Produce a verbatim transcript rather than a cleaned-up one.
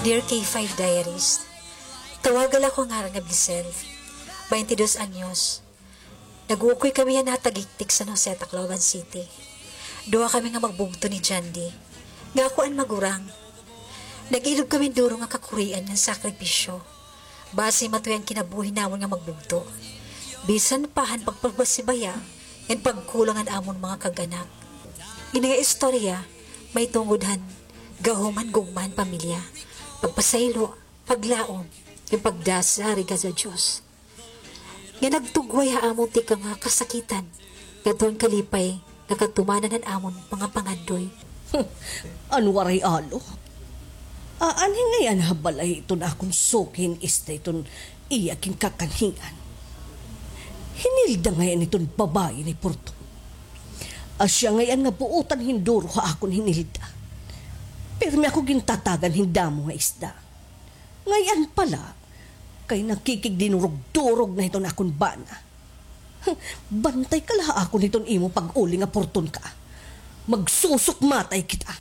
Dear K five Diaries, tawaga la ako ngaran nga Blisel, baynte dos anyos. Nag-uukoy kami han Natagiktik, San Jose, Tacloban City. Duha kami nga magbugto ni Jandy, nga ako an magurang. Nag-ilob kami hin duro nga kakurian ngan sakripisyo. Basi matuya an kinabuhi namon nga magbugto. Bisan pa han pagpabasibaya ngan pagkulang han amon mga kag-anak. Ini nga istorya mahitungod han gahom han gugma han pamilya, pagpasaylo, paglaom, ngan pagdasari gad ha Diyos, nga nagtugway ha amon tikang nga kasakitan ngadto han kalipay nga katumanan han amon mga pangandoy. An waray alo. Aanhi ngay-an ha balay iton akon suki hin isda iton iya ginkakanhian. Hinilda ngay-an iton babaye ni Porton. Asya ngay-an nga buotan hin duro ha akon hinilda. Pirmi ako gintatagan hin damo nga isda. Ngay-an pa la, kay nakikigdinurog-durog na hiton akon bana. Bantay ka la ha akon hiton imo pag-uli nga Porton ka. Magsusukmatay kita.